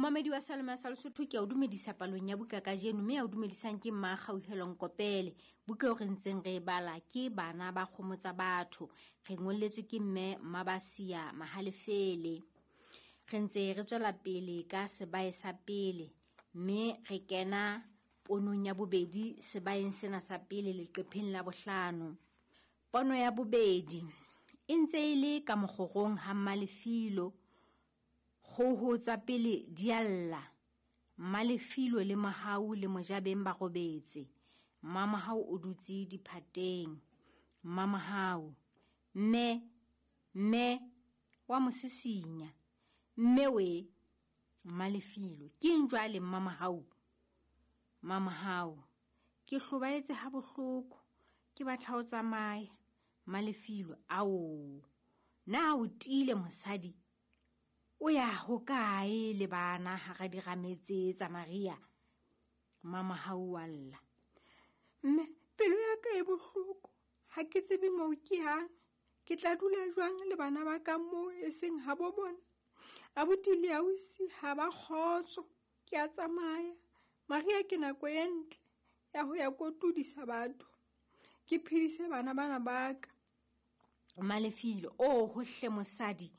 Momamedi wa Salome sa Lesotho, ke a o dumedisa palong ya buka kajeno, mme ya o dumedisang ke mma Kgauhelong Kopele. Buka eo re ntseng re e bala ke Bana ba Kgomo Tsa Batho. Re ngolletswe ke mme Mmabasia Mahalefele. Re ntse re tswela pele ka sebae sa pele, mme re kena ponong ya bobedi sebaeng sena sa pele leqepheng la bohlano. Pono ya bobedi e ntse e le ka mokgorong ha Mmalefilo. Kgoho tsa pele di a lla. Mmalefilo le Mohau le Mojabeng ba robetse. Mmamohau o dutse diphateng. Mmamohau, Mme, mme, wa mo sisinya. Mme we, Mmalefilo, keng jwale Mmamohau? Mmamohau, Ke hlobaetse ha bohloko, ke batla ho tsamaya. Mmalefilo, Ao, na o tiile mosadi? O ya hokae le bana hara dirame tse tsa Maria? Mmamohau wa lla. Mme, pelo ya ka e bohloko, ha ke tsebe moo ke yang. Ke tla dula jwang le bana ba ka moo e seng habo bona? Abuti le ausi ha ba kgotso, ke a tsamaya. Maria ke nako e ntle ya ho ya kotudisa batho, ke phedise bana bana ba ka. Mmalefilo, Oh, hohle mosadi.